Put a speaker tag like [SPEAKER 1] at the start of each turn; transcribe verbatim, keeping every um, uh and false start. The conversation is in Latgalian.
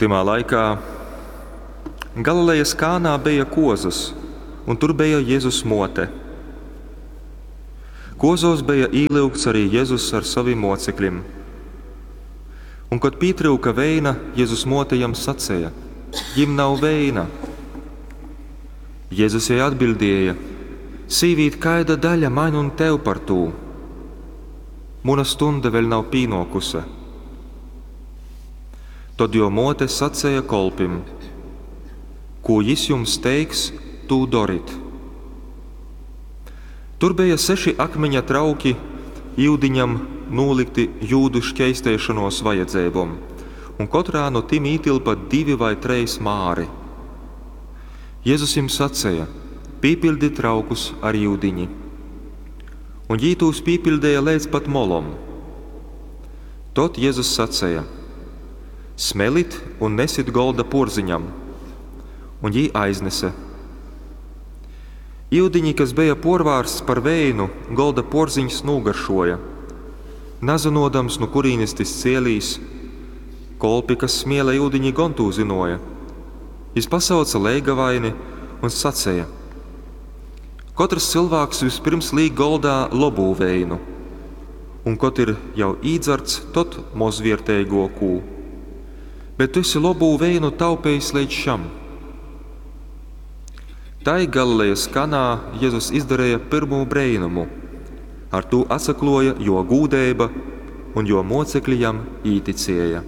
[SPEAKER 1] Tymā laikā Galilejas Kānā beja kuozys, un tur beja Jezus muote. Kuozuos beja īlyugts arī Jezus ar sovim muocekļim. Un kod pītryuka veina, Jezus muote jam saceja: Jim nav veina. Jezus jai atbiļdēja: Sīvīt, kaida daļa maņ un tev par tū? Muna stunde vēļ nav pīnuokuse. Tod juo muote saceja kolpim: Kū jis jums teiks, tū dorit. Tur beja seši akmiņa trauki iudiņam nūlykti jūdu škeisteišonuos vajadzeibom, un kotrā nu tim ītylpa divi vai treis māri. Jezus jim saceja: Pīpiļdit traukus ar iudiņi. Un jī tūs pīpiļdeja leidz pat molom. Tod Jezus saceja: Smelit un nesit golda puorziņam. Un jī aiznese. Iudiņi, kas beja puorvārsts par veinu, golda puorziņs nūgaršuoja. Nazynuodams, nu kurīnis tys cielīs, kolpi, kas smiele iudiņi, gon tū zynuoja. Jis pasauce leigavaini un saceja: Kotrs cylvāks vyspyrms līk goldā lobū veinu, un kod ir jau īdzarts, tod mozvierteiguokū. Bet tu esi lobū veinu taupejis leidz šam. Tai Galilejas Kanā Jezus izdareja pyrmū breinumu. Ar tū atsakluoja juo gūdeiba, un juo muocekļi jam īticēja.